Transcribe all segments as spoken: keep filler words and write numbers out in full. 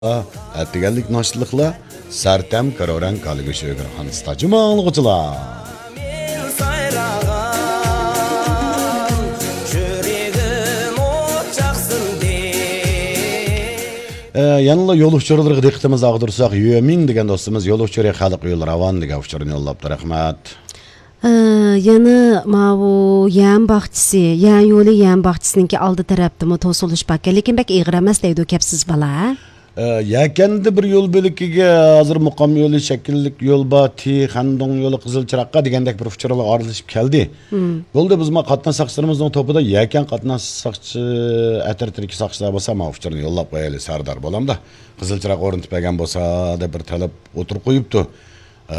ئەتىگەنلىك ناشتىلىقلار سەرتەم، كارورەڭ، كالىگۈش، ئۆگرە خانىستا جۇما ئاڭلىغۇچىلار. ئە، يەنىلا يول ئۇچۇرلىرىغا دىققىتىمىزنى ئاغدۇرساق، يۈەمىڭ دېگەن دوستىمىز يول ئۇچۇرى خەلق يولى راۋان دېگەن ئۇچۇرنى يوللاپتۇ. رەھمەت. ئى، يەنە ماۋۇ يەم باغچىسى، يەن يولى يەم باغچىسىنىڭكى ئالدى تەرەپتىمۇ توسۇلۇش باركەن، لېكىن بەك ئېغىر ئەمەس دەيدۇ كەپسىز بالا. ئى، يەكەندە بىر يول بۆلىكىگە ھازىر مۇقام يولى شەكىللىك يول بار، تى خەندۇڭ يولى قىزىل چىراغقا دېگەندەك بىر ئۇچۇرلار ئارىلىشىپ كەلدى. مم. بولدى، بىزمۇ قاتناش ساقچىلىرىمىزنىڭ توپىدا يەكەن قاتناش ساقچى ئەترىتىدىكى ساقچىلار بولسا، ماۋۇ ئۇچۇرنى يوللاپ قويايلى، سەردار بالامدا. قىزىل چىراغ ئورنىتىپ بەرگەن بولسا، دەپ بىر تەلەپ ئوتتۇرىغا قويۇپتۇ. ئە،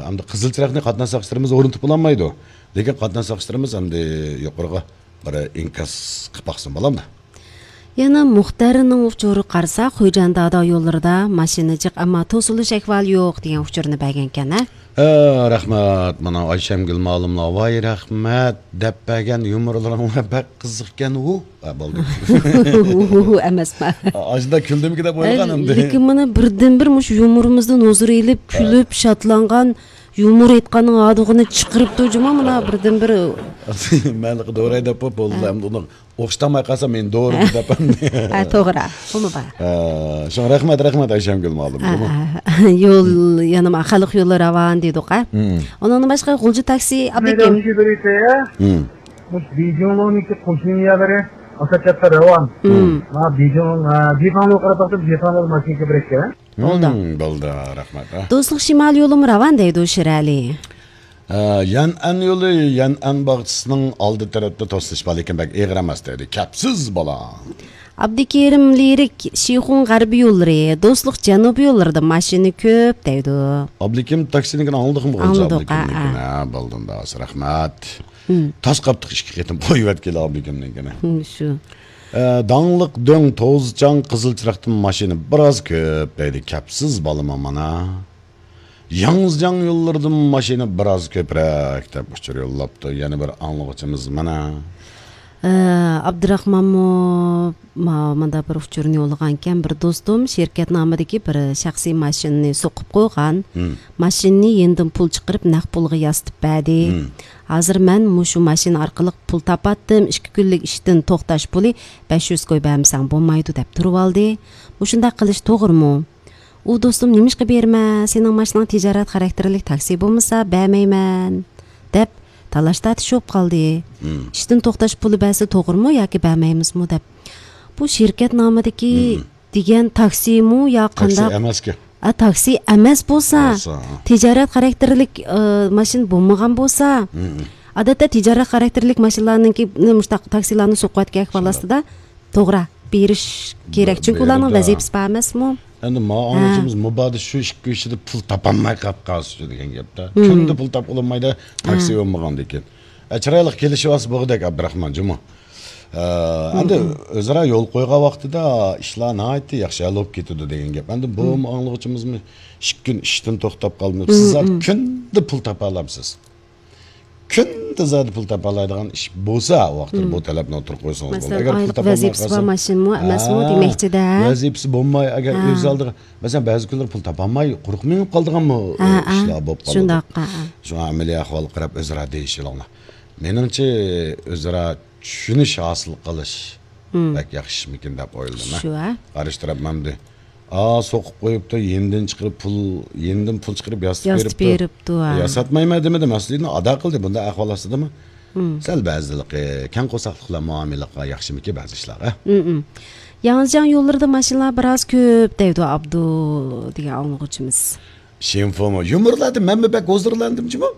ئەمدى قىزىل چىراغنى قاتناش ساقچىلىرىمىز ئورنىتىپ بولالمايدۇ. لېكىن قاتناش ساقچىلىرىمىز ئەمدى يۇقىرىغا بىر ئىنكاس قىلىپ باقسۇن، بولامدۇ؟ يەنە مۇختەرنىڭ ئۇچۇرىغا قارىساق، خوجاندادا يوللىرىدا ماشىنا جىق، ئەمما توسۇلۇش ئەھۋالى يوق دېگەن ئۇچۇرنى بەرگەنكەن، ھە؟ ئە، رەھمەت. مانا ئايشەمگۈل مالىملار، ۋاي رەھمەت دەپ بەرگەن يۇمۇرلىرىڭلار بەك قىزىقكەن ئۇ. ھە، بولدى. ئۇ ئەمەسما؟ ئاشۇنداق كۈلدۈمكى دەپ ئويلىغان ئەمدى. لېكىن مانا بىردىنبىر مۇشۇ يۇمۇرىمىزدىن ھۇزۇر ئېلىپ، ھە، كۈلۈپ، شادلانغان، يۇمۇر ئېيتقاننىڭ ھادىغىنى چىقىرىپتۇ جۇما، مانا بىردىنبىر. مەنلىقى دوراي دەپ بولدى، ھە، ئەمدى ئۇنىڭ ئوخشىتالماي قالسا مېنى دورىما دەپ. ھە، توغرا. بۇمۇ بار. ھە، شۇڭا رەھمەت، رەھمەت ئايشەمگۈل مۇئەللىم. ھە، بۇمۇ. ھە. يول، يەنە ما-، خەلق يولى راۋان دېدۇق، ھە. مم. ئۇنىڭدىن باشقا غۇلجا تاكسى ئابلىكىم. مم. مۇشۇ بېيجىڭلونىڭكى قوشنا يەرلىرى ئاساسەتتە راۋان. مم. ما بېيجىڭ، ھە، جىفاڭلوغا قاراپ باقسام، جىفاڭلوغا ماشىنا كۆپرەك ئىكەن. بولدى. مم، بولدى، رەھمەت، ھە. دوستلۇق شىمال يولىمۇ راۋان دەيدۇ شىرئەلى. ئە، يەنئەن يولى، يەنئەن باغچىسىنىڭ ئالدى تەرەپتە توسۇلۇش بار، لېكىن بەك ئېغىر ئەمەس دەيدۇ. كەپسىز بالا. ئابدۇكېرىم لىرىك، شىخۇڭ غەربىي يوللىرى، دوستلۇق جەنۇبىي يوللىرىدا ماشىنا كۆپ دەيدۇ. ئابلىكىم تاكسىنىڭكىنى ئاڭلىدۇقمۇ؟ ئاڭلىدۇق، ھە، ھە. ھە، بولدى ئۇندا، رەھمەت. مم. تاس قاپتۇق ئىككى قېتىم قويۇۋەتكىلى ئابلىكىمنىڭكىنى. مم، شۇ. ئە، داڭلىق دۆڭ، توزچاڭ، قىزىل چىراغدىن ماشىنا بىراز كۆپ دەيدۇ. كەپسىز بالىمۇ مانا. ياڭزىجياڭ يوللىرىدىن ماشىنا بىراز كۆپرەك دەپ ئۇچۇر يوللاپتۇ. يەنە بىر ئاڭلىغۇچىمىز مانا. ئە، ئابدۇراخمانمۇ ما-، مانداق بىر ئۇچۇرنى يوللىغانىكەن. بىر دوستۇم شىركەت نامىدىكى بىر شەخسىي ماشىنىنى سوقۇپ قويغان. مم. ماشىنىنى يېنىدىن پۇل چىقىرىپ نەق پۇلغا ياسىتىپ بەردى. مم. ھازىر مەن مۇشۇ ماشىنا ئارقىلىق پۇل تاپاتتىم. ئىككى كۈنلۈك ئىشتىن توختاش پۇلى بەش يۈز كوي بەرمىسەڭ بولمايدۇ دەپ تۇرۇۋالدى. مۇشۇنداق قىلىش توغرىمۇ؟ ئۇ دوستۇم، نېمىشقا بېرىمەن؟ سېنىڭ ماشىناڭ تىجارەت خاراكتېرلىك تاكسى بولمىسا بەرمەيمەن دەپ تالاش تارتىش بولۇپ قالدى. مم. ئىشتىن توختاش پۇلى بەرسە توغرىمۇ ياكى بەرمەيمىزمۇ دەپ. بۇ شىركەت نامىدىكى مم. دېگەن تاكسىمۇ يا تاكسى قانداق؟ ئەمەسكەن. ئا، تاكسى ئەمەس بولسا، بولسا، ھە. تىجارەت خاراكتېرلىك، ئە، ماشىنا بولمىغان بولسا، مم. ئادەتتە تىجارەت خاراكتېرلىك ماشىنىلارنىڭكى، مۇشۇنداق تاكسىلارنى سوقۇۋەتكەن ئەھۋال شۇنداق. ئاستىدا توغرا بېرىش كېرەك، بە-، چۈنكى ئۇلارنىڭ بېرىدۇ. ۋەزىپىسى بار ئەمەسمۇ؟ ئەمدى ما ھە. ئاڭلىغۇچىمىز مۇبادا شۇ ئىككى ئۈچ يىلدا پۇل تاپالماي قاپ قالسىچۇ دېگەن گەپتە. مم. كۈندە پۇل تاپقىلى بولمايدۇ، تاكسى مم. بولمىغاندىكىن. ئە، چىرايلىق كېلىشىۋالسا بولغۇدەك، ئابدۇراخمان جۇمۇ. ئە، مم، ئەمدى مم. ئۆزئارا يول قويغان ۋاقتىدا ئىشلار ناھايىتى ياخشى ھەل بولۇپ كېتىدۇ دېگەن گەپ. ئەمدى بۇ مم. ئاڭلىغۇچىمىزمۇ ئىككى كۈن ئىشتىن توختاپ قالمىسا، مم، سىز مم. كۈندە پۇل تاپالامسىز؟ كۈندە زادى پۇل تاپالايدىغان ئىش بولسا، ۋاقتىدا بۇ تەلەپنى ئوتتۇرىغا قويسىڭىز بولىدۇ. مەسىلەن، ئەگەر پۇل ئايلىق تاپالماي ۋەزىپىسى بار قالسا، ماشىنىمۇ ئەمەسمۇ ھە، دېمەكچىدە. ۋەزىپىسى بولماي، ئەگەر ھە. ئۆز ئالدىغا، مەسىلەن، بەزى كۈنلەر پۇل تاپالماي، قۇرۇق مېڭىپ قالىدىغانمۇ ھە، ھە. ئىشلار بولۇپ قالىدۇ. شۇنداق، ھە، ھە. شۇڭا ئەمەلىي ئەھۋالغا قاراپ ئۆزئارا دېيىشىۋېلىڭلار. مېنىڭچە، ئۆزئارا چۈشىنىش ھاسىل قىلىش مم. بەك ياخشىمىكىن دەپ ئويلىدىم، ھە. شۇ، ھە. قارشى تەرەپ مەمدى. ئا، سوقۇپ قويۇپتۇ، يېنىدىن چىقىرىپ پۇل، يېنىدىن پۇل چىقىرىپ ياسىتىپ ياسىتىپ بېرىپتۇ. بېرىپتۇ، ھە. ياساتمايمەن دېمىدى، مەسئۇلىيىتىنى ئادا قىلدى. بۇنداق ئەھۋال ئاستىدىمۇ مم. سەل بەزىلىقى، كەڭ قورساقلىقلار مۇئامىلىلىققا ياخشىمىكى بەزى ئىشلارغا؟ مم، مم. ياڭزىجياڭ يوللىرىدا ماشىنىلار بىراز كۆپ دەيدۇ ئابدۇ دېگەن ئاڭلىغۇچىمىز. شىنفۇمۇ؟ يۇمۇرلاردا مەنمۇ بەك ھۇزۇرلاندىم جۇمۇ.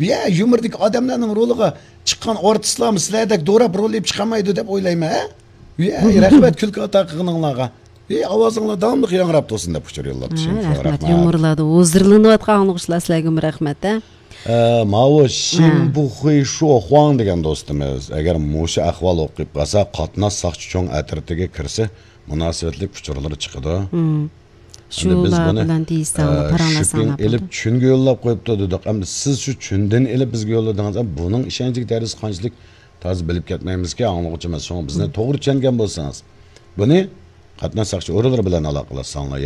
يا، يۇمۇردىكى ئادەملەرنىڭ رولىغا چىققان ئارتىسلارمۇ سىلەردەك دوراپ رول ئېلىپ چىقالمايدۇ دەپ ئويلايمەن، ھە؟ يا، رەھمەت كۈلكە ئاتا قىلغىنىڭلارغا. يا، ئاۋازىڭلار داۋاملىق ياڭراپ تۇرسۇن دەپ ئۇچۇر يوللاپتۇ. ھە، شىنفۇ، رەھمەت. رەھمەت. يۇمۇرلاردا ھۇزۇرلىنىۋاتقان ئاڭلىغۇچىلار سىلەرگىمۇ رەھمەت، ھە؟ ئە، ماۋۇ ھە. شىنبۇخۇي شۇخۇاڭ دېگەن دوستىمىز، ئەگەر مۇشۇ ئەھۋال ئوقۇپ قالسا، قاتناش ساقچى چوڭ ئەترىتىگە كىرسە، مۇناسىۋەتلىك ئۇچۇرلىرى چىقىدۇ. مم. ئەمدى بىز شۇلار بۇنى، بىلەن دېيىشسەڭلار، ئە، پاراڭلاشساڭلار شۈپىڭ ئېلىپ بولىدۇ. چۈنگە يوللاپ قويۇپتۇ دېدۇق. ئەمدى سىز شۇ چۈندىن ئېلىپ بىزگە يوللىدىڭىز. ئەمدى بۇنىڭ ئىشەنچلىك دەرىجىسى قانچىلىك تازا بىلىپ كەتمەيمىزكى، ئاڭلىغۇچىمىز. شۇڭا بىزنى مم. توغرا چۈشەنگەن بولسىڭىز، بۇنى قاتناش ساقچى ئورۇنلىرى بىلەن ئالاقىلەشسەڭلار.